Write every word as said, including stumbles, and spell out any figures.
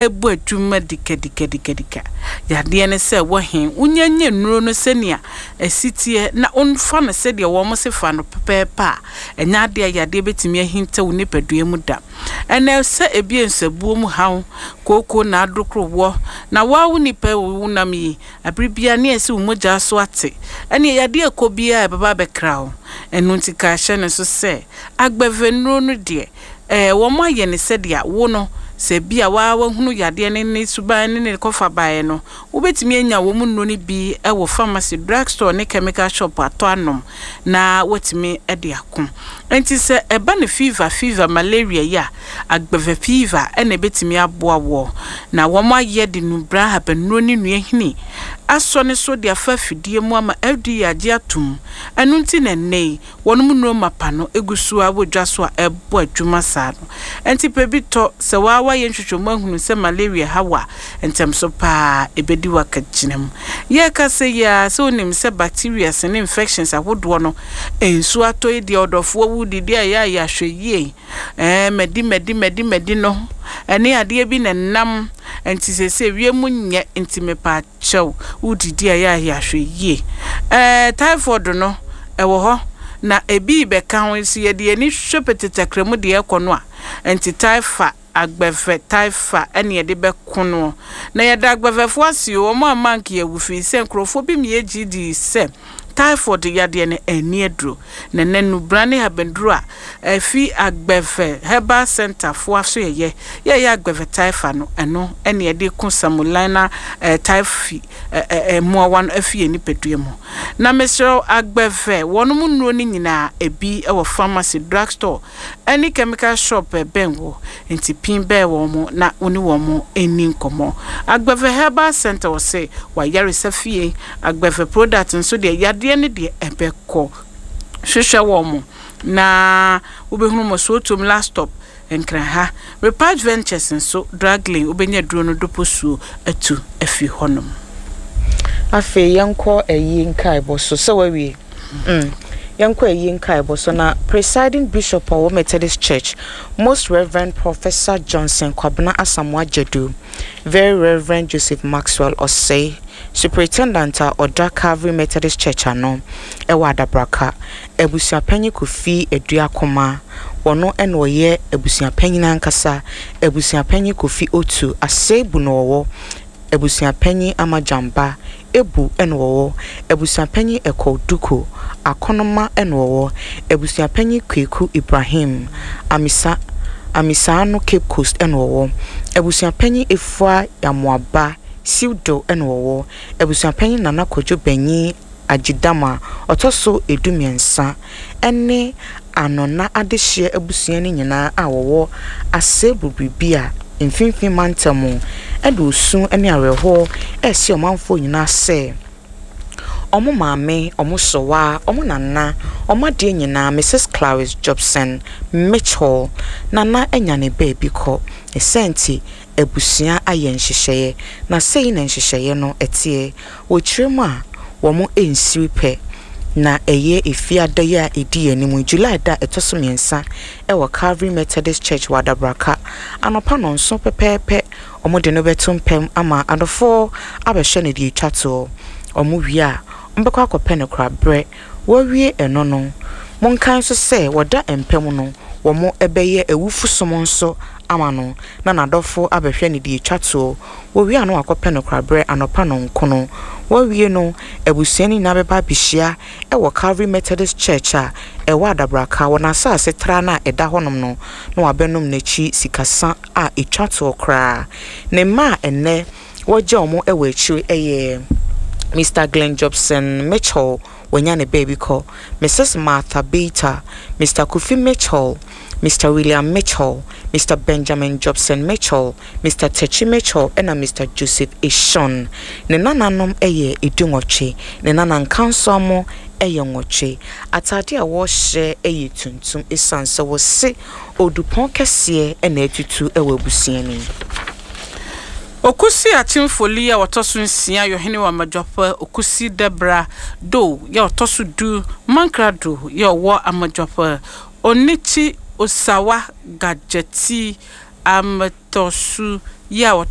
Ɛbɔ adwuma dikadikadikadika. Yadeɛ ne sɛ wɔ he wonya nya nnuro no sɛnea ɛsi teɛ na womfa no sɛdeɛ wɔn se fa no pɛpɛɛpɛ a, ɛnyɛ adeɛ a yadeɛ bɛtumi ahinta wo nipadua mu da. Ɛnɛ sɛ ebi nsabuo mu haw, kooko na adokoro na woa wo nipa wo nam yi, abere biara ne ɛsɛ wo mogya so ate, ɛne yadeɛ ɛkɔ biara ɛbɛba abɛkra wo. Ɛno nti ka hyɛ ne so sɛ Agbeve nnuro no deɛ, ɛɛ wɔn ayɛ ne sɛdeɛ wo no sɛ bi a waa wahunu yadeɛ ne ne suban ne ne kɔfa baeɛ no, wobɛtumi anya wɔn mu nnuro no bi wɔ pharmacy, drugstore ne chemical shop atɔ anom na watumi de ako. Nti sɛ ɛba ne fever fever malaria yi a, Agbeve Fever ɛna ɛbɛtumi aboa wɔ. Na wɔn ayɛ de nubra ahabannuro ne nnuahini asɔ ne so de afa afidie mu ama F D A agye atom. Ɛno nti na nnɛ yi wɔn mu nnuro mapa no egu so a wɔ dwa so a ɛbɔ adwuma saa no. Nti pɛ bi tɔ. Sɛ waa wayɛ nhwehwɛmu ahunu sɛ malaria ha wɔ a, ntɛm so paa ɛbɛdi wakagyina mu. Yɛreka sɛ yi a, sɛ wonim sɛ bacteria ne infections ahodoɔ no, nsuo atɔ yi deɛ, ɔdɔfoɔ wo didi a, ɛyɛ a yɛahwɛ yie. Ɛɛ mɛdi mɛdi mɛdi mɛdi no ɛne adeɛ bi na nam nti sɛsɛ wiem nyɛ nti mepa kyɛw, wodidi a, ɛyɛ a yɛahwɛ yie. Ɛɛ typhoid no ɛwɔ hɔ na ebi bɛka ho nso, yɛde yɛn ani hwɛ petetakra mu deɛ ɛkɔ no a, nti typha Agbeve Typha ɛne yɛde bɛko no. Na yɛda Agbevɛfoɔ ase o, wɔn a mank yɛ firi sɛ nkurɔfoɔ bi mmea gye di sɛ typhoid yadeɛ no ani aduro, na ɛnɛ nubra ne habanduro a ɛfi Agbeve Herbal Center foɔ so yɛyɛ yɛyɛ Agbeve Typha no, ɛno ɛne yɛde ko Salmonella ɛɛ typhi ɛɛ mmoawa no afi yɛn nipadua mu. Na mesrɛ, Agbeve wɔn mu nnuro no nyinaa ebi wɔ pharmacy, drugstore ɛne chemical shop ɛbɛn wɔ, nti pin bɛɛ wɔn mo na wɔne wɔn mo ani nkɔmɔ. Agbeve Herbal Center wɔ sɛ wayaresa fie. Agbeve product nso deɛ, yadeɛ no deɛ ɛbɛkɔ. Hwehwɛ wɔn mo na wobɛhunu mo Sowutuom Last Stop, Nkran ha. Repatch Ventures nso Draglin, wobɛnya duro no doposuo atu afi hɔnom. Afei yɛnkɔ ayi nkaebɔ so sɛ wawie mm. Yɛnkɔ ayi nkaebɔ so na Presiding Bishop a ɔwɔ Methodist Church, Most Reverend Professor Johnson Kwabena Asamoah Jadu, Very Reverend Joseph Maxwell Osei, Superintendent a ɔda Calvary Methodist Church ano ɛwɔ Adabraka, Abusuapanyin Kofi Aduakoma, wɔno ɛna ɔyɛ abusuapanyin ankasa. Abusuapanyin Kofi Otu Asebu na ɔwɔ, Abusuapanyin Amagyamba Ebu ɛna ɔwɔ, Abusuapanyin Ɛkɔ Duku Akɔnoma ɛna ɔwɔ, Abusuapanyin Kweku Ibrahim Amisa Amisaano Cape Coast ɛna ɔwɔ, Abusuapanyin Efua Yamoaba Siwdo ɛna ɔwɔ, Abusuapanyin Nana Kwadwo Banyin Agyidama ɔtɔ so edu mmiɛnsa ɛne Anɔna adehyeɛ abusua no nyinaa a wɔwɔ Asebu biribi a Mfimfini Mantam ɛde osu ne awerɛhoɔ ɛresi ɔmanfoɔ nyinaa sɛ ɔmo maame, ɔmo sɔwa, ɔmo nana, ɔmo adeɛ nyinaa, Missus Clarice Jobson Mitchell nana anya ne baabi kɔ. Ɛsɛ nti abusua ayɛ nhyehyɛeɛ na sei na nhyehyɛeɛ no ɛteɛ. Wɔkyerɛ mu a, wɔn nsiri pɛ na ɛyɛ Efiada yi a ɛdi anim, July da ɛtɔ so mmiɛnsa, ɛwɔ Calvary Methodist Church wɔ Adabraka, anɔpa nɔnso pɛpɛɛpɛ, wɔn de no bɛto mpɛm ama adɔfoɔ abɛhwɛ no deɛ etwa toɔ. Wɔn wie a, wɔbɛkɔ akɔpɛ no koraberɛ. Wɔawie ɛno no, monkae nso sɛ wɔda mpɛm no, wɔn bɛyɛ awufo som nso ama no na n'adɔfo abɛhwɛ no deɛ etwa toɔ. Wɔwie a, no wakɔpɛ no koraberɛ anɔpa nɔnkono. Wɔawie no, abusua no nyinaa bɛba abɛhyia ɛwɔ Calvary Methodist Church a ɛwɔ Adabraka, wɔ n'asase tra no a ɛda hɔnom no, na wabɛnom n'akyi sikasa a etwa toɔ koraa. Ne mma a ɛnnɛ wɔgya wɔn wɔ akyire yɛ Mister Glenn Jobson Mitchell, wanya ne baabi kɔ, Missus Martha Bater, Mister Kofi Mitchell, Mister William Mitchell, Mister Benjamin Jobson Mitchell, Mister Techi Mitchell ɛna Mister Joseph Eshon. Ne nananom yɛ edu nwɔtwe, ne nana nkansoamo yɛ nwɔtwe. Atade a wɔrehyɛ yɛ tuntum esiane sɛ wɔse odupɔn kɛseɛ na atutu wɔ abusua no mu. Okusi Akyemfoli a wɔtɔ so nsia yɛ ɔhene wɔ Amadwapa. Okusi Debra Do yɛ ɔtɔ so du Mankrado yɛ ɔwɔ Amadwapa. Onichi Osawa Gadzeti Ametɔsu yɛ a wɔtɔ